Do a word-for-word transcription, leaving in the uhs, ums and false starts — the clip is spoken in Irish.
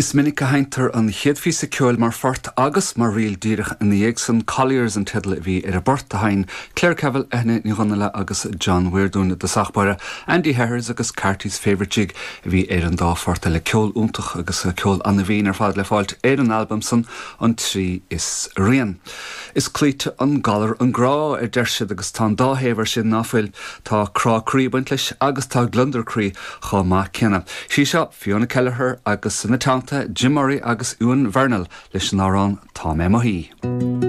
Is minic a sheinntear an chéad phíosa ceoil mar phort agus mar ríl díreach ina dhiaidh san Colliers an teideal a bhí ar an bport a sheinn Claire Cavill, Eithne Ní Dhonnaile agus John Weir dúinn i dtosach báire Andy Harris agus Carty's Favourite Jig a bhí ar an dá phort eile ceol iontach agus ceol an-bhinn ar fad le fáilt ar an albam san an trí is rian. Is cloíte an galar an grá a deir siad agus tá an dá thaobh air sin ná fuil tá crá croí ag baint leis agus tá gliondar croí chomh maith céanna. Sí seo Fiona Kelleher agus ina teannta Jim Murray agus Ewan Vernal leis an amhrán Tá mé i mo shuí.